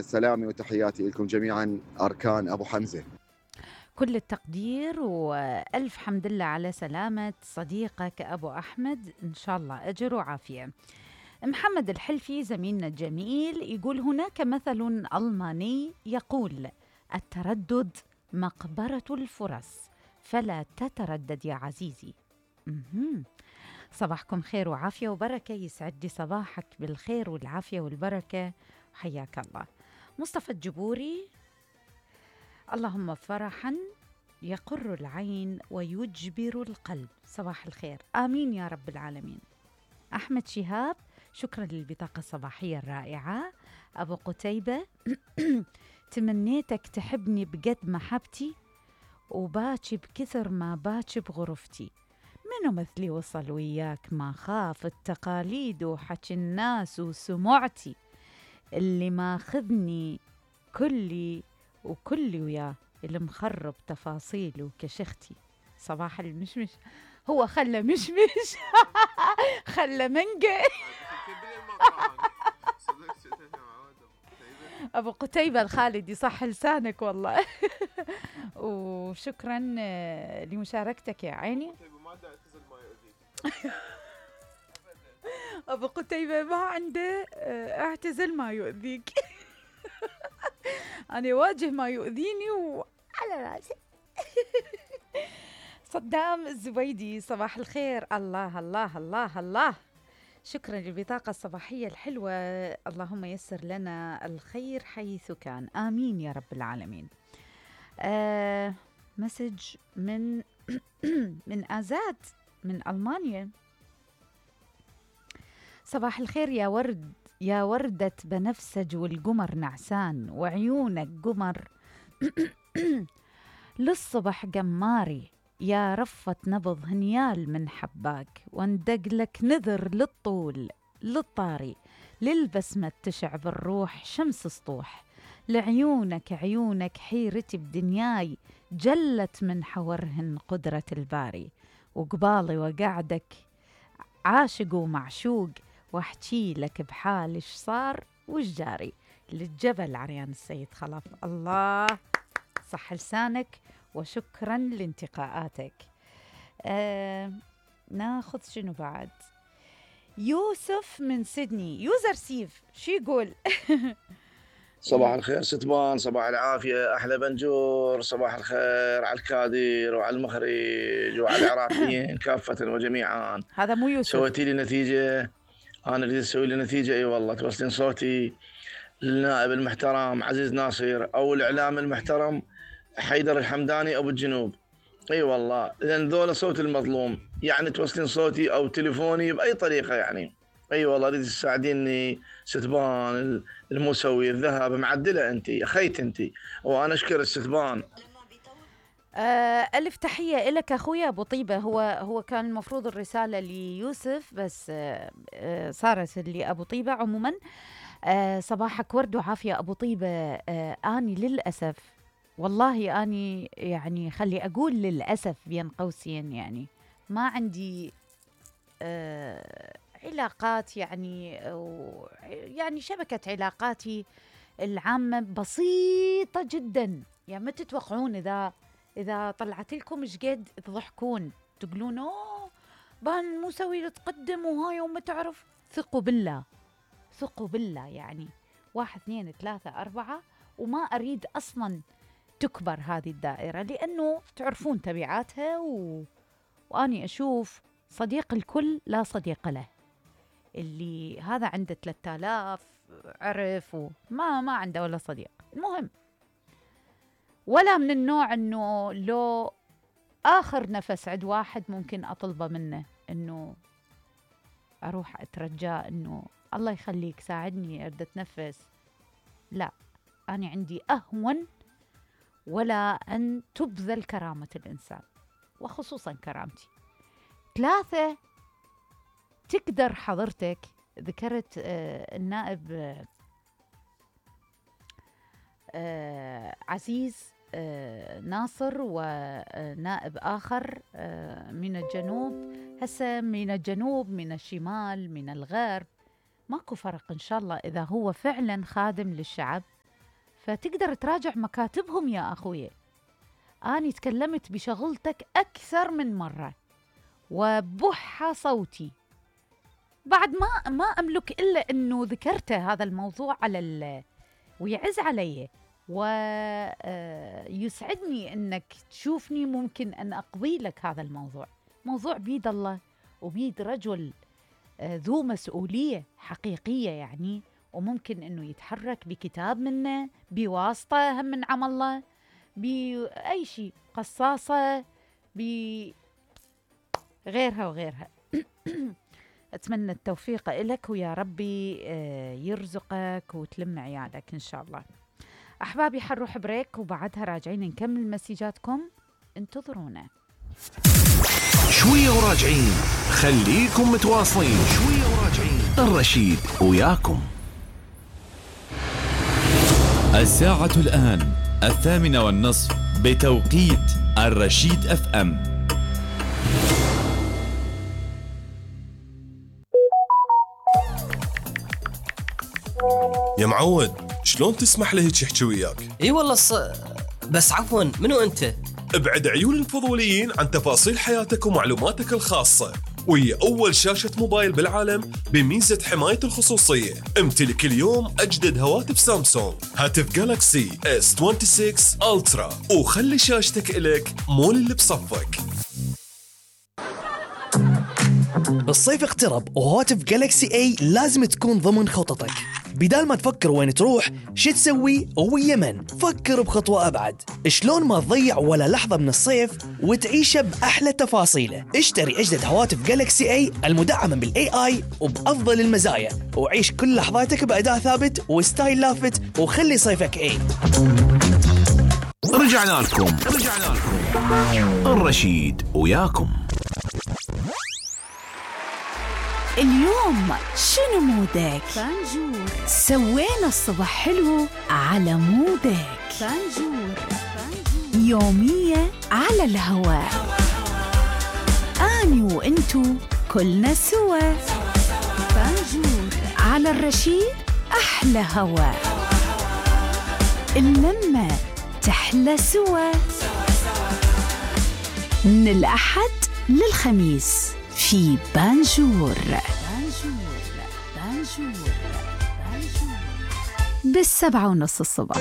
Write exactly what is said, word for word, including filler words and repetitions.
سلامي وتحياتي لكم جميعا أركان أبو حمزة. كل التقدير وألف حمد لله على سلامة صديقك أبو أحمد، إن شاء الله أجر وعافية. محمد الحلفي زميلنا الجميل يقول: هناك مثل ألماني يقول: التردد مقبرة الفرص، فلا تتردد يا عزيزي. مهم. صباحكم خير وعافية وبركة، يسعد لي صباحك بالخير والعافية والبركة، حياك الله. مصطفى الجبوري: اللهم فرحا يقر العين ويجبر القلب، صباح الخير، آمين يا رب العالمين. أحمد شهاب: شكرا للبطاقة الصباحية الرائعة. أبو قتيبة: تمنيتك تحبني بقد محبتي وباكي بكثر ما باكي بغرفتي، منو مثلي وصل وياك ما خاف التقاليد وحكي الناس وسمعتي، اللي ماخذني كلي وكلي وياه، اللي مخرب تفاصيله كشختي، صباح المشمش. هو خلى مشمش خلى منقى أبو قتيبة الخالد يصح لسانك والله. وشكرا لمشاركتك يا عيني. أبو قتيبة ما عنده اعتزل ما يؤذيك. أنا أواجه ما يؤذيني وعلى راسي. صدام الزبيدي: صباح الخير، الله الله الله الله، شكرا للبطاقة الصباحية الحلوة، اللهم يسر لنا الخير حيث كان، آمين يا رب العالمين. آه مسج من من آزاد من ألمانيا: صباح الخير يا ورد، يا وردة بنفسج والقمر نعسان وعيونك قمر للصبح قماري، يا رفة نبض هنيال من حباك، واندقلك نذر للطول للطاري، للبسمة تشعب الروح شمس سطوح، لعيونك عيونك حيرتي بدنياي، جلت من حورهن قدرة الباري، وقبالي وقعدك عاشق ومعشوق، واحكي لك بحال ايش صار وش جاري، للجبل عريان السيد خلف. الله، صح لسانك وشكرا لانتقاءاتك. آه، ناخذ شنو بعد؟ يوسف من سيدني، يوزر سيف، شو يقول؟ صباح الخير ستبان، صباح العافية أحلى بنجور، صباح الخير على الكادر وعلى المخرج وعلى العراقيين كافة وجميعا. هذا مو يوسف. سويتي لي نتيجة، أنا أريد أسوي لي نتيجة. أي والله، توصلين صوتي للنائب المحترم عزيز ناصر أو الإعلام المحترم حيدر الحمداني أبو الجنوب. اي أيوة والله، لان ذولا صوت المظلوم، يعني توصلين صوتي او تليفوني باي طريقه يعني. اي أيوة والله، اريد تساعديني ستبان المسوي الذهب معدله انت خيت انت، وانا اشكر الستبان. آه، ألف تحية إلك أخويا أبو طيبة. هو هو كان المفروض الرسالة ليوسف، بس آه آه صارت لأبو طيبة. عموما آه صباحك ورد وعافية أبو طيبة. آه أني للأسف والله أني يعني خلي أقول للأسف بين قوسين، يعني ما عندي آه علاقات، يعني يعني شبكة علاقاتي العامة بسيطة جدا، يعني ما تتوقعون إذا إذا طلعت لكم إيش قد تضحكون تقولون أوه بان مسوي تقدم وهاي وما تعرف. ثقوا بالله، ثقوا بالله، يعني واحد اثنين ثلاثة أربعة، وما أريد أصلا تكبر هذه الدائرة، لأنه تعرفون تبعاتها و... وأني أشوف صديق الكل لا صديق له. اللي هذا عنده ثلاثة آلاف عرف وما ما عنده ولا صديق. المهم، ولا من النوع انه لو اخر نفس عند واحد ممكن اطلبه منه انه اروح اترجاه انه الله يخليك ساعدني اريد اتنفس. لا، انا عندي اهون ولا ان تبذل كرامة الانسان، وخصوصا كرامتي. ثلاثة، تقدر حضرتك ذكرت آه النائب آه آه عزيز آه ناصر ونائب آخر آه من الجنوب. هسه من الجنوب، من الشمال، من الغرب، ماكو فرق إن شاء الله إذا هو فعلا خادم للشعب فتقدر تراجع مكاتبهم يا أخوي. أنا تكلمت بشغلتك أكثر من مرة وبح صوتي، بعد ما ما أملك إلا أنه ذكرته هذا الموضوع على ال ويعز علي، ويسعدني أنك تشوفني ممكن أن أقضي لك هذا الموضوع. موضوع بيد الله وبيد رجل ذو مسؤولية حقيقية يعني، وممكن أنه يتحرك بكتاب منه، بواسطة هم من عمل الله، بأي شيء، قصاصة، بغيرها وغيرها. أتمنى التوفيق إلك، ويا ربي يرزقك وتلم عيالك إن شاء الله. أحبابي حنروح بريك وبعدها راجعين نكمل مسيجاتكم، انتظرونا. شوية وراجعين، خليكم متواصلين. شوية وراجعين، الرشيد وياكم. الساعة الآن الثامنة والنصف بتوقيت الرشيد اف ام. يا معود، شلون تسمح له هيك يحكي وياك؟ اي والله ص... بس عفوا، منو انت؟ ابعد عيون الفضوليين عن تفاصيل حياتك ومعلوماتك الخاصة، وهي أول شاشة موبايل بالعالم بميزة حماية الخصوصية. امتلك اليوم أجدد هواتف سامسونج، هاتف جالاكسي اس ستة وعشرين ألترا، وخلي شاشتك إلك مول اللي بصفك. الصيف اقترب وهواتف جالاكسي اي لازم تكون ضمن خططك. بدال ما تفكر وين تروح شو تسوي ويا من، فكر بخطوة أبعد. شلون ما تضيع ولا لحظة من الصيف وتعيشه بأحلى تفاصيله. اشتري أجدد هواتف جالاكسي اي المدعمة بالاي اي وبأفضل المزايا، وعيش كل لحظاتك بأداء ثابت وستايل لافت، وخلي صيفك اي. رجعنا لكم رجعنا لكم الرشيد وياكم. اليوم شنو مودك؟ فانجور. سوينا الصبح حلو على مودك. فانجور. يومية على الهواء، أني وإنتو كلنا سوا. فانجور على الرشيد، أحلى هواء، اللمة تحلى سوا. من الأحد للخميس في بانجور. بانجور بانجور بانجور بالسبعة ونص الصبح.